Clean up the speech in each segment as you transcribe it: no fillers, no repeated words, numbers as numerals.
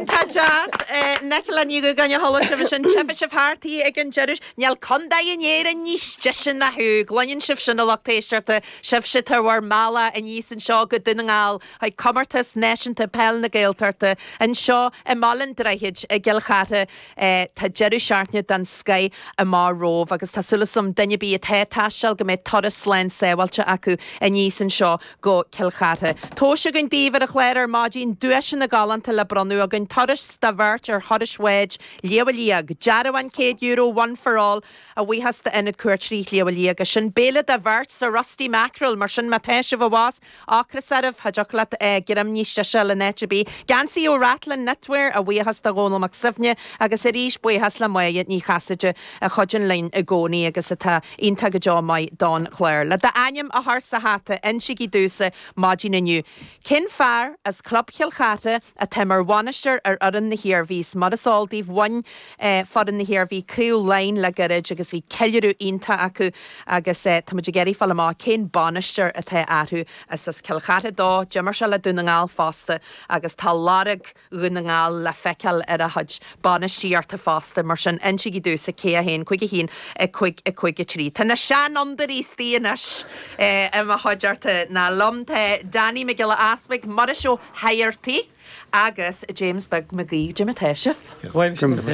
Iontach deas. Nicola Ní Dhúgáin a chuala sibh ansin. Tchífidh sibh thart í ag an deireadh. Níl contae in Éirinn níos deise ná thú. Gcluineann sibh sin a lucht éisteachta, sibhse atá ar bhur mbealach aníos anseo go Dún na nGall chuig Comórtas Náisiúnta Peil na Gaeltachta anseo i mBaile an Droichid i gCill Chartha. Tá deireadh seachtaine den scoith amach romhaibh agus tá súil agam duine ar bith atá ag taisteal go mbeidh turas slán sábháilte acu aníos anseo go Cill Chartha. Tomhais againn daoibh ar an chlár ar maidin, duaiseanna galánta le bronnadh againn, turas do bheirt ar thuras bháid Shliabh Liag, dearbhán €100 One for All a bhuíochas d'Ionad Cuairteoirí Shliabh Liag, is sin béile do bheirt sa Rusty Mackerel, mar sin má tá sibh abhus, Ocras oraibh, cha dtiocfadh leat greim níos deise a fháil in áit ar bith. Geansaí ó Rathlin Knitwear, a bhuíochas do Dhónal Mac Suibhne agus arís buíochas le Máire Ní Chasaide a chuidíonn linn i gcónaí agus atá iontach go deo maith don chlár. Le d'ainm a chur sa hata, insígí domhsa maidin inniu, cén fear as Club Chill Chartha atá mar bhainisteoir ar fhoireann na hIarmhí? Mar is eol daoibh, bhain foireann na hIarmhí Craobh Laighean le gairid agus bhí ceiliúradh iontach acu agus tá muid ag iarraidh fáil amach cén bainisteoir atá orthu. Is as Cill Chartha dó, d'imir sé le Dún na nGall fosta agus tá lorg Dhún na nGall le feiceáil ar a chuid bainistíochta fosta. Mar sin, insígí domhsa cé 1, 5 1, 5 5 3. Tá na seanfhondúirí istigh anois i mo chuideachta ná liom. Tá Danny Mac Giolla Easpaig, Muiris Ó hEigeartaigh agus James Beag Mac Aoidh. Cad é mar atá sibh?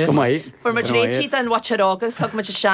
Go maith. Fuair muid réitithe don mhuintir óg agus thug muid isteach.